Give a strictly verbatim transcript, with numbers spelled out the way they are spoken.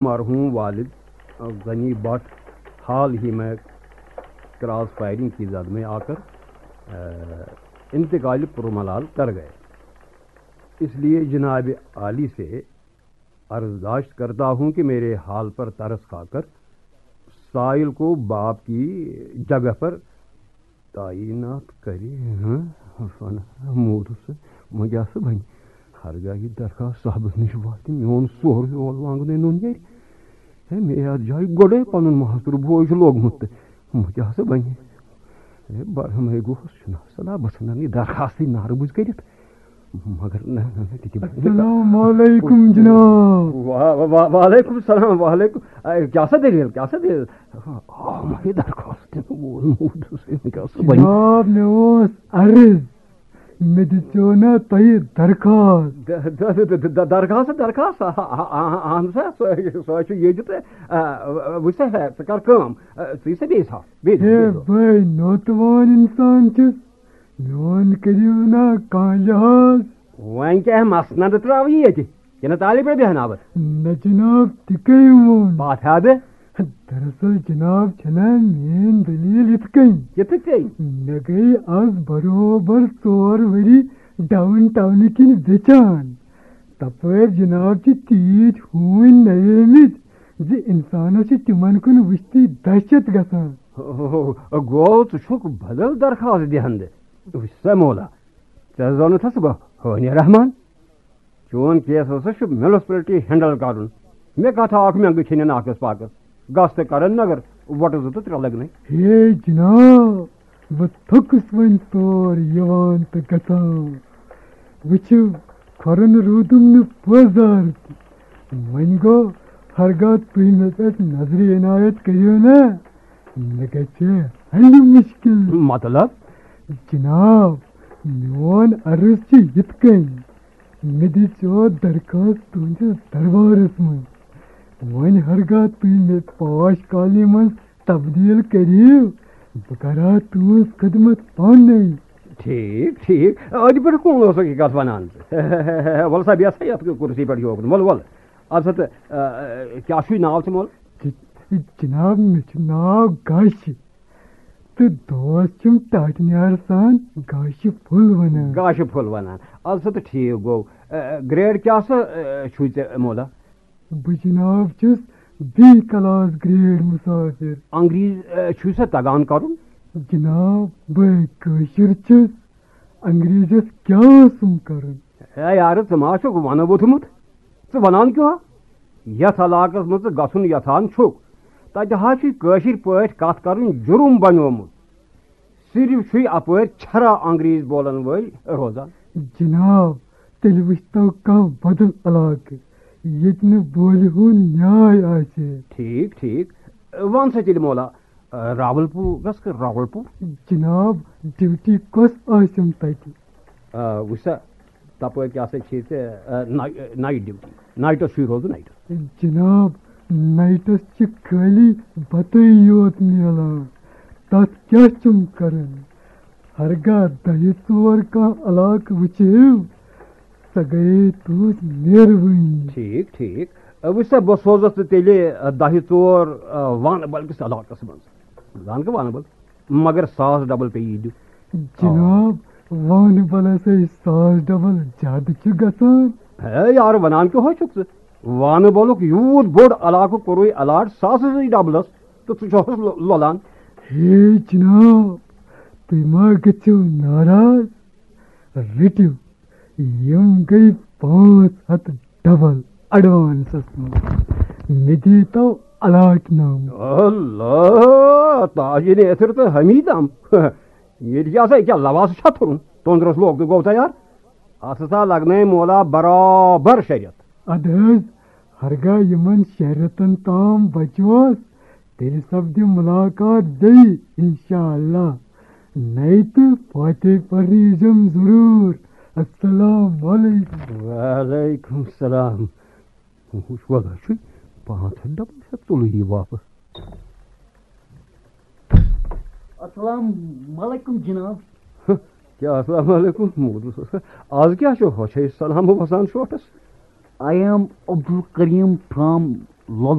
مرحوم والد غنی بٹ حال ہی میں کراس فائرنگ کی زد میں آ کر انتقال پرملال کر گئے، اس لیے جناب عالی سے عرضداشت کرتا ہوں کہ میرے حال پر ترس کھا کر سائل کو باپ کی جگہ پر تعینات کرے۔ ہاں، موٗدُس، وۄنۍ کیٛاہ سا بَنہِ؟ ہرگاہ یہِ درخواست صاحبس نِش واتہِ، میون سورُے اولہٕ وانگنٕے نوٚن نیرِ۔ ہے، مےٚ یتھ جایہِ گۄڈے پنُن ماستُر بوے چھُ لوگمُت تہٕ وۄنۍ کیٛاہ سا بنہِ؟ ہے، برہمے گوس، چھُنہ صلاح، بہٕ ژھٕنن یہِ درخواستٕے نارٕ بٕز کٔرِتھ۔ مگر نہ، نہ، نہ، تہِ کیٛاہ بنہِ؟ السلام علیکم جناب۔ وا-، وا-، وا-، وعلیکم السلام، وعلیکم۔ اے، کیٛاہ سا دٔلیٖل، کیٛاہ سا دٔلیٖل؟ آ، مےٚ درخواست دِنہٕ وول موٗدُس، وۄنۍ کیٛاہ سا بنہِ؟ جناب، مےٚ اوس عرض۔ مےٚ دِژیو نا تۄہہِ درخواست؟ The-, the-, the-, the-, the-, درخواست، درخواست، آ، آ، آ، اہن سا، سۄ، سۄ چھُ ییٚتہِ تہٕ، آ، وٕچھ سا، ہے، ژٕ کر کٲم، آ، ژٕ یہِ سا بیٚیہِ سا، بیٚیہِ دِ، ہے بیٚیہِ دِ۔ بھاے، نوتوان انسان چھُس، میون کٔرِو نا کانٛہہ لحاظ۔ وۄنۍ کیٛاہ مسند ترٛاوٕ یہِ ییٚتہِ؟ کِنہٕ تالہِ پٮ۪ٹھ بیٚہناوٕ؟ نہ جناب، تہِ کٔمۍ ووٚن؟ پاتھ ہا بہٕ۔ دراصل جناب چھنا میٲنۍ دٔلیٖل یِتھ کٔنۍ۔ یِتھ کٔنۍ؟ مےٚ گٔے از برابر ژور ؤری ڈاوُن ٹاونہٕ کِنۍ بیچان۔ تپٲرۍ جناب چھِ تیٖتۍ ہوٗنۍ نَیٲمٕتۍ زِ انسانس چھِ تِمن کُن وٕچھتٕے دہشت گژھان۔ ہو، ہو، ہو، گوٚو ژٕ چھُکھ بدل درخواست دِہندٕ۔ وٕچھ سا مولا، ژےٚ زانُتھس بہٕ ہٲنی رحمان۔ چون کیس ہسا چھُ میونسپلٹی ہینڈل کرُن۔ مےٚ کتھ اکھ مٮ۪نٛگہٕ چھِنہٕ ناقص پاکس۔ گژھ تہٕ کرن نگر وۄٹہٕ زٕ تہٕ ترٛےٚ لگنَے۔ ہے جناب، بہٕ تھوٚکُس وۄنۍ تور یِوان تہٕ گژھان۔ وٕچھِو، کھۄرن روٗدُم نہٕ پٲزار تہِ۔ وۄنۍ گوٚو، ہرگاہ تُہۍ مےٚ پٮ۪ٹھ نظرِ عنایت کٔرِو نا، مےٚ گژھِ حل مُشکل۔ مطلب؟ جناب، میون عرض چھُ یِتھ کٔنۍ، مےٚ دِژیو درخواست تُہنٛدِس دربارس منٛز۔ وۄنۍ ہرگاہ تُہۍ مےٚ پاش کالی منٛز تبدیل کٔرِو، بہٕ کرٕ ہا تُہنٛز خدمت پانے۔ ٹھیک، ٹھیک۔ أتھۍ پٮ۪ٹھ کون اوسُکھ یہِ کتھ ونان؟ وَلہٕ سا، بیٚہہ سا یتھ کُرسی پٮ۪ٹھ یوکُن۔ وَلہٕ، وَلہٕ۔ اَدٕ سا تہٕ، آ، آ، کیٛاہ چھُے ناو ژےٚ مول؟ ج-، جناب، مےٚ چھُ ناو گاشہِ۔ تہٕ دوس چھِم ٹاٹہٕ نیار سان گاشہِ پھوٚل ونان۔ گاشہِ پھوٚل ونان۔ اَدٕ سا تہٕ ٹھیٖک گوٚو۔ آ، گریڈ کیٛاہ سا، آ، چھُے ژےٚ مولا؟ بہٕ جناب چھُس بی کلاس گریڈ مسافر۔ انگریز، آ، چھُے سا تگان کرُن؟ جناب، بہٕ کٲشُر چھُس۔ انگریزس کیٛاہ اوسُم کرُن؟ ہے یارٕ، ژٕ ما چھُکھ ونہٕ ووٚتھمُت؟ ژٕ ونان کیٛاہ؟ یتھ علاقس منٛز ژٕ گژھُن یژھان چھُکھ، تتہِ حظ چھُے کٲشِر پٲٹھۍ کتھ کرُن جُرُم بنیومُت۔ صرف چھُے اپٲرۍ چھرا انگریز بولن وٲلۍ روزان۔ جناب، تیٚلہِ وٕچھتو کانٛہہ بدل علاقہٕ، ییٚتہِ نہٕ بولہِ ہُنٛد نیاے آسہِ۔ ٹھیٖک، ٹھیٖک۔ وَن سا تیٚلہِ مولا، راول پوٗر گژھ کر راول پوٗر؟ جناب، ڈیوٹی کۄس آسٮ۪م تتہِ؟ آ، وٕچھ سا، تپٲرۍ کیٛاہ سا چھے ژےٚ، آ، ناے-، نایٹ ڈیوٹی۔ نایٹس چھُے روزُن نایٹس۔ جناب، نایٹس چھِ خٲلی بتٕے یوت میلان، تتھ کیٛاہ چھُم کرُن؟ ہرگاہ دَہہِ ژور کانٛہہ علاقہٕ وٕچھِو، سۄ گٔیے تُہٕنٛز مہربٲنی۔ ٹھیٖک، ٹھیٖک۔ آ، وٕچھ سا، بہٕ سوزَتھ ژٕ تیٚلہِ، آ، دَہہِ ژور، آ، وانہٕ بَل کِس علاقَس منٛز۔ زانکھ وانہٕ بَل؟ مگر ساس ڈبل پیٚیی دیُن۔ جناب، وانہٕ بَلَس ہے ساس ڈبل زیادٕ چھُ گژھان۔ ہے یارٕ، وَنان کیٛاہ ہو چھُکھ ژٕ؟ وانہٕ بَلُک یوٗت بوٚڑ علاقہٕ کوٚرُے الاٹ ساسَسٕے ڈبلَس، تہٕ ژٕ چھُکھ لۄ-، لۄلان۔ ہے جناب، تُہۍ ما گٔژھِو ناراض؟ رٔٹِو، یِم گٔے پانٛژھ ہَتھ ڈبل ایڈوانسس منٛز۔ مےٚ دیٖتو الاٹ نامہٕ۔ اللہ، تاج نیتھر تہٕ حمیدم۔ ییٚتہِ کیٛاہ سا، یہِ کیٛاہ لواس چھا تھوٚرُن؟ توٚنٛدرَس لوگ تہٕ گوٚو تیار۔ اَتھ ہسا لگنَے مولا برابر شےٚ رٮ۪تھ۔ اَدٕ حظ، ہرگاہ یِمن شےٚ رٮ۪تن تام بچوس، تیٚلہِ سپدِ مُلاقات بیٚیہِ، انشاءاللہ۔ نَیہِ تہٕ فاتح پرنہِ ییٖزٮ۪م ضروٗر۔ السلام علیکم۔ وعلیکم السلام۔ وٕچھ، وَلہٕ چھُے پانٛژھ ہَتھ ڈبہٕ چھا تُلٕے یہِ واپس۔ السلام علیکم جناب۔ کیٛاہ السلام علیکم؟ موٗدمُت اوس۔ آز کیٛاہ چھُ ہۄچھے سلام وَسان shoots? I am Abdul Kareem from لۄل